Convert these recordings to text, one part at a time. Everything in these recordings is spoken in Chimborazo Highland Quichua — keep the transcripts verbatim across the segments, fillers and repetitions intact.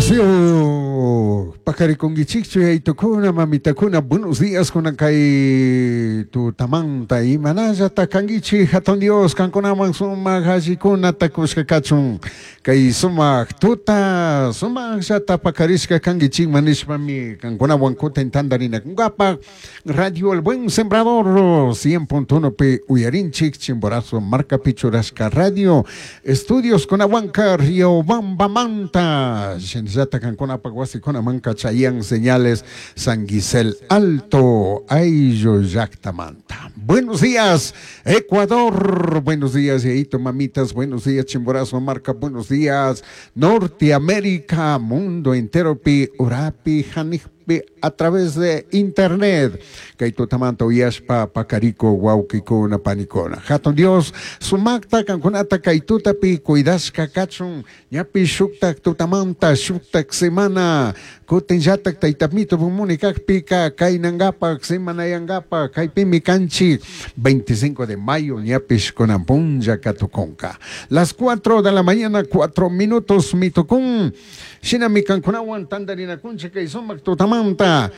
Wasio pakarikunkichikchu yaytukuna mamitakuna buenos días kunan kay tutamanta imanallata kankichik hatun Dios kankunaman sumak allikuna takushka kachun kay sumak tuta sumakllata pakarishka kankichikman nishpami kankunawan kutin tantarinakunkapak Radio El Buen Sembrador cien punto uno pi uyarinchik Chimborazo markapi churashka radio estudios kunawanka Riobambamanta shinallata kankunapak wasikunamanka chayan señales San Gisel Alto ayllu llaktamanta. Buenos días Ecuador, buenos días yaito mamitas, buenos días Chimborazo marca, buenos días Norteamérica, mundo entero pi urapi janijpi a través de internet. Kay tutamanta uyashpa pakariko wawkikuna panikuna. Hatun Dios sumakta kankunata kay tutapi cuidashka kachun ñapi shuktak tutamanta shuktak semana kutinllatak taytamito pumuni kakpika kaynankapak semanayankapak kaypimi kanchik veinticinco de mayo ñapish kunan punlla katukunka. Las cuatro de la mañana cuatro minutos mitukun shinami kankunawan tantarinakunchik kay sumak tutamanta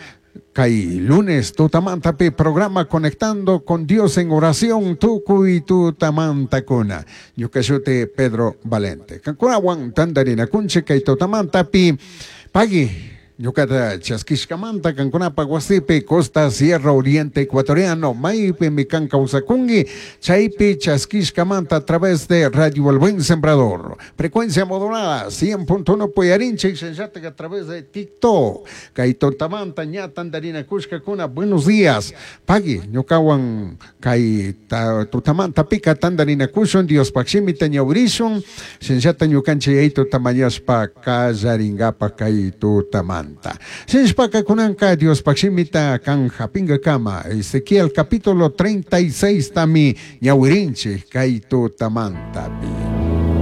kay lunes tutamantapi programa Conectando con Dios en oración tukuy tutamantakuna. Ñuka shuti Pedro Valente. Kankunawan tantarinakunchik kay tutamantapi pagui ñukata chaskishkamanta kankunapak wasipi Costa Sierra Oriente Ecuatoriano maypi mi kan kawsakunki chaypi chaskishkamanta a través de Radio El Buen Sembrador frecuencia modulada cien punto uno puyarinchik shinllatak a través de TikTok kay tutamanta ña tantarinakushkakuna buenos días pagui ñukawan kay tutamanta pika tantarinakushun Diospak shimita ñawrishun shinllata ñukanchik yaytuta mañashpa kallarinkapak kay tutamanta. Sinshpaka kunanka Dios pakshimita kan japinga kama Ezequiel capítulo treinta y seis tami ñawirinchik kay tutamantapi.